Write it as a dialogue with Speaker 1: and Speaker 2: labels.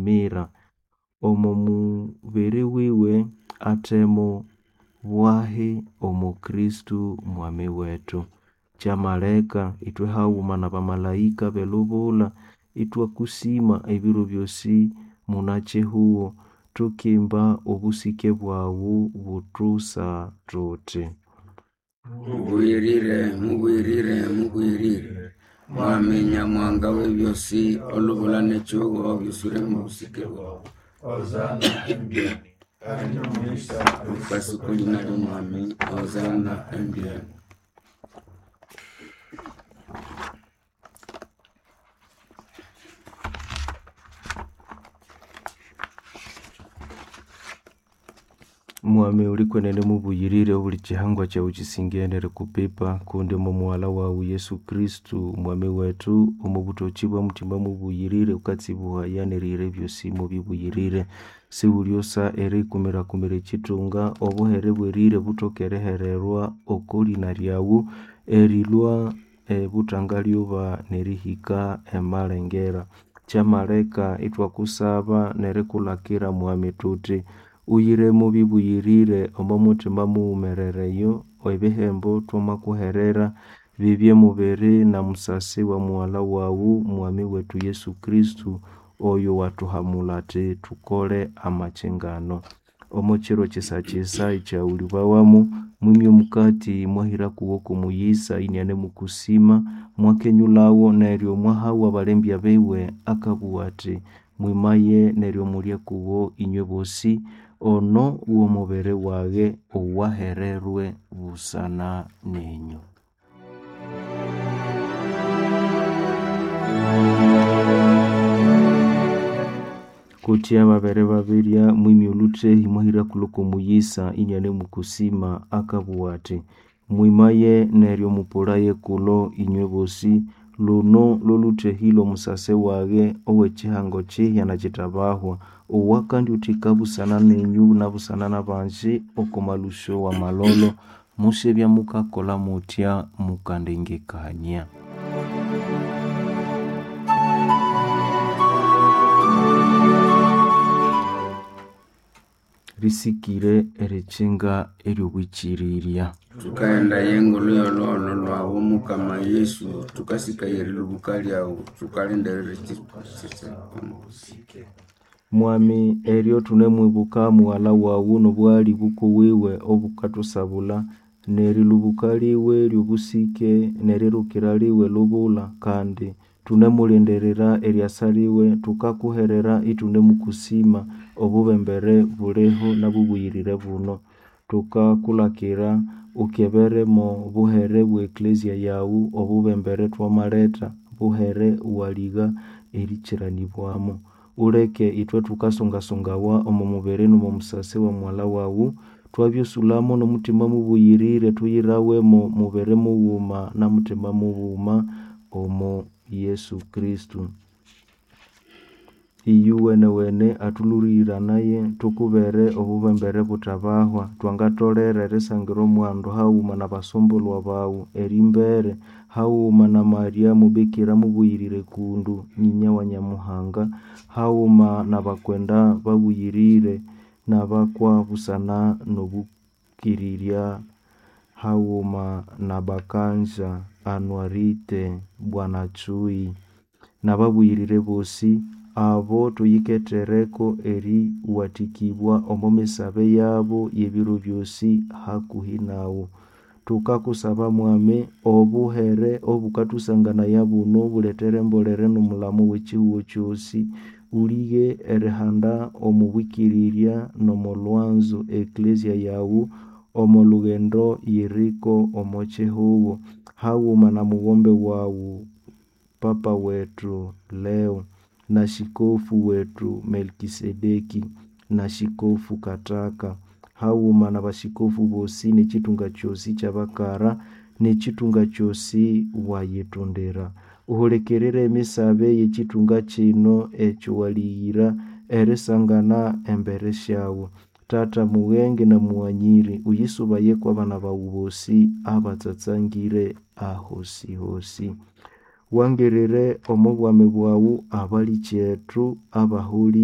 Speaker 1: mira. Omo mubiri wiwe athemo bwahi omo Kristo mwami wetu. Kyamaleka ithwe haghuma n'abamalaika b'elubula ithwakusima ebiro byosi munakihugho, tukimba obusike bwaghu buthusa thuthi.
Speaker 2: Mubuyirire, mubuyirire, mubuyirire. Mwami Nyamuhanga w'ebyosi, olubula n'ekihugo byuswire mw'obusike bwawu.
Speaker 3: Hosana embyani. Ali n'omuyisa
Speaker 2: Wukasa oko lina ly'Omwami, Hosana embyani.
Speaker 1: Mwami ulikwenene mubuyirire obuli kihangwa kyawu kisingene erikupipa kundi omo mughalha wawu Yesu Kristo mwami wethu omo buthoki bwa muthima mubuyirire wukatsibuhaya n'erihira ebyosi mubibuyirire. Siwulyosa erikumirakumira ekithunga, obuhere bwerire buthoke erihererwa oko lina lyawu erilhwa ebuthangalyuba nerihika emalengera. Kyamaleka ithwakusaba n'erikulhakira mwami thuthi uyire mubibuyirire omo muthima mughumerereyo ebihembo thwamakuherera bibye mubiri na musasi wa mughalha wawu mwami wethu Yesu Kristo oyo wathuhamulha athi thukole amakyingano. Omo kiro kyisa-kyisa ekyawulibwawamu, mwimya omukati mwahira kuwo kw'omuyisa inianemukusima, mwakenyulhawo neryo mwahawo abalembya biwe akabugha athi, mwimaye neryo mulye kuwo inywe bosi, ono w'omubiri wage owahererwe busana nenyũ. Kutya babere babirya, mwimya olhuthehi mwahira kulhu kw'omuyisa inianemukusima akabugha athi, mwimaye neryo mupulaye kulo inywe bosi, luno lw'olhuthehi lw'omusasi wage ow'ekihango kihya na kithabahwa, owakandyuthika busana nenyu na busana n'abanji oko malhusyo w'amalholo. Musyabya mukakolha muthya mukandengekania. Risikire erikyinga ery'obwikirirya.
Speaker 2: Thukaghenda y'engulu y'olhuholho lhwawu Mukama Yesu, thukasikaya erilhubuka lyawu, thukalindirira
Speaker 1: Mwami eryo thunemwibuka mughalha wawu n'obughali bukuwiwe obukathusabulha, n'erilhubuka liwe ly'obusike n'erirukira liwe lubulha, kandi thunemulindirira eryasa liwe, thukakuherera ithunemukusima obubembere buliho n'obubuyirire buno. Thukakulhakira ukebere mo buhere bwe Eklezia yaghu obubembere thwamaletha, buhere iwaligha erikiranibwamo. Uleke ithwe thukasungasungawa omo mubiri n'omo musasi wa mughalha wawu, twabyosulhamo n'omuthima mubuyirire thuyirawe mo mubiri mughuma na muthima mughuma omo Yesu Kristo. Iyuwenewene athulhuriranaye thukubere obubembere buthabahwa, thwangatholere erisangira omwandu haghuma n'abasumbulwa baghu erimbere haghuma na Maria mubikira mubuyirire kundu nyinya wa Nyamuhanga, haghuma n'abakwenda babuyirire n'abakwa busana n'obukirirya, haghuma na Bakanja, Anuarite, Bwana Chui n'ababuyirire bosi, abo thuyikethereko eriwathikibwa omo misabe yabo y'ebiro byosi hakuhi naghu. Thukakusaba mwami obuhere obukathusanganaya buno bulethere embolere n'omulamo w'ekihugho kyosi, ulighe erihanda omo bwikirirya n'omo lhwanzo Eklezia yaghu omo lughendo yiriko omo kihugho, haghuma na mughombe waghu Papa wethu Leo na Shikofu wethu Melkisedeki na Shikofu Kataka, haghuma n'abashikofu bosi n'ekithunga kyosi ky'abakara n'ekithunga kyosi wayithondera. Uhulikirire emisabe y'ekithunga kino ekyo walighira erisangana embere syaghu. Tata mughenge na mughanyiri, uyisubaye kw'abana baghu bosi abatsatsangire ahosihosi. Wangirire omo bwami bwaghu abalikyetu abaholi.